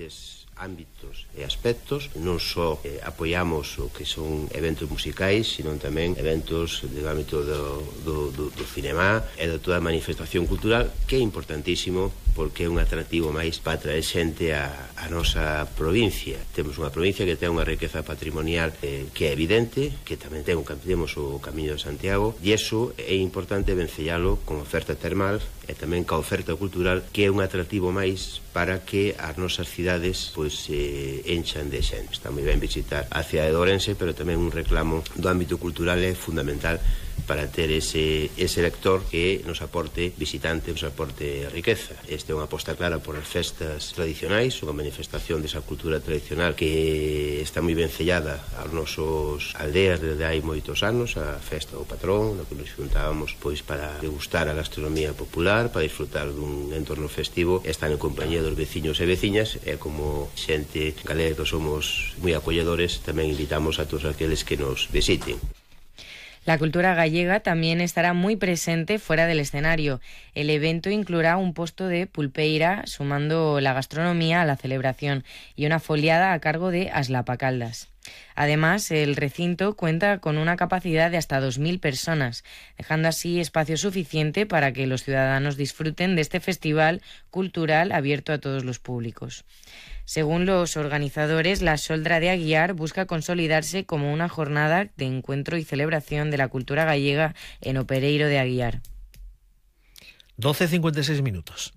diferentes ámbitos e aspectos. Non só apoiamos o que son eventos musicais, sino tamén eventos do ámbito do cinema e de toda a manifestación cultural, que é importantísimo porque é un atractivo máis para traer xente a nosa provincia. Temos unha provincia que ten unha riqueza patrimonial que é evidente, que tamén temos o Camiño de Santiago, e iso é importante vencellalo con oferta termal e tamén ca oferta cultural, que é un atractivo máis para que as nosas cidades enchan de xente. Está moi ben visitar a cidade de Ourense, pero tamén un reclamo do ámbito cultural é fundamental para ter ese lector que nos aporte visitante, nos aporte riqueza. Esta é unha aposta clara por as festas tradicionais, unha manifestación desa cultura tradicional que está moi ben sellada aos nosos aldeas desde hai moitos anos, a festa do patrón, na que nos xuntábamos pois para degustar a gastronomía popular, para disfrutar dun entorno festivo, estar en compañía dos veciños e veciñas, e como xente galega que somos moi acolledores, tamén invitamos a todos aqueles que nos visiten. La cultura gallega también estará muy presente fuera del escenario. El evento incluirá un posto de pulpeira, sumando la gastronomía a la celebración, y una foliada a cargo de Aslapacaldas. Además, el recinto cuenta con una capacidad de hasta 2.000 personas, dejando así espacio suficiente para que los ciudadanos disfruten de este festival cultural abierto a todos los públicos. Según los organizadores, la Xoldra de Aguiar busca consolidarse como una jornada de encuentro y celebración de la cultura gallega en o Pereiro de Aguiar. 12:56 minutos.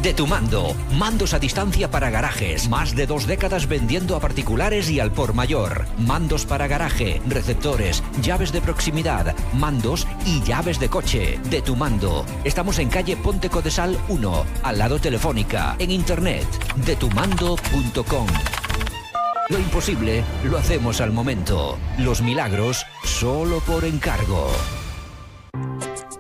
De Tu Mando, mandos a distancia para garajes, más de 2 décadas vendiendo a particulares y al por mayor. Mandos para garaje, receptores, llaves de proximidad, mandos y llaves de coche. De Tu Mando. Estamos en calle Ponte Codesal 1, al lado Telefónica, en internet, detumando.com. Lo imposible lo hacemos al momento. Los milagros solo por encargo.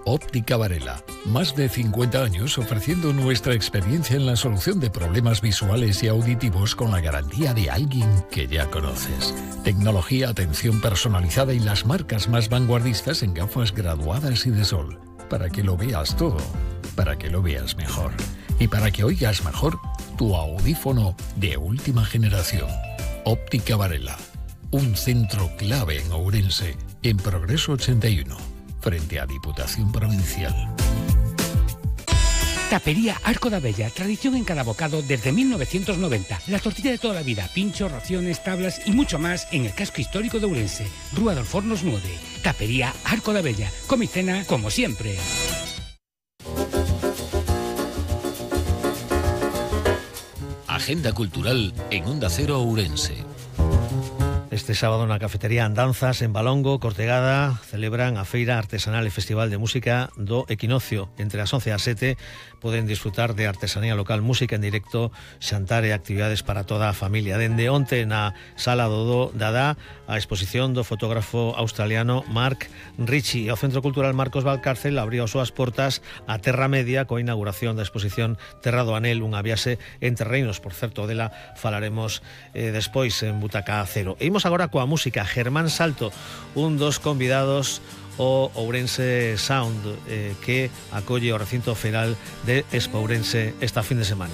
Óptica Varela. Más de 50 años ofreciendo nuestra experiencia en la solución de problemas visuales y auditivos con la garantía de alguien que ya conoces. Tecnología, atención personalizada y las marcas más vanguardistas en gafas graduadas y de sol. Para que lo veas todo, para que lo veas mejor. Y para que oigas mejor tu audífono de última generación. Óptica Varela. Un centro clave en Ourense, en Progreso 81. Frente a Diputación Provincial. Tapería Arco da Bella, tradición en cada bocado desde 1990. La tortilla de toda la vida, pinchos, raciones, tablas y mucho más en el casco histórico de Ourense. Rúa dos Fornos 9. Tapería Arco da Bella. Come y cena como siempre. Agenda cultural en Onda Cero Ourense. Este sábado na cafetería Andanzas en Balongo, Cortegada, celebran a Feira Artesanal e Festival de Música do Equinoccio. Entre as 11 e as 7 poden disfrutar de artesanía local, música en directo, xantar e actividades para toda a familia. Dende onte na Sala do Dada, a exposición do fotógrafo australiano Mark Ritchie. E o Centro Cultural Marcos Valcárcel abriu as súas portas a Terra Media coa inauguración da exposición Terra do Anel, unha viaxe entre reinos. Por certo, dela falaremos despois en Butaca Cero. E imos agora coa música. Germán Salto, un dos convidados o Ourense Sound, que acolle o recinto feiral de Expo Ourense esta fin de semana.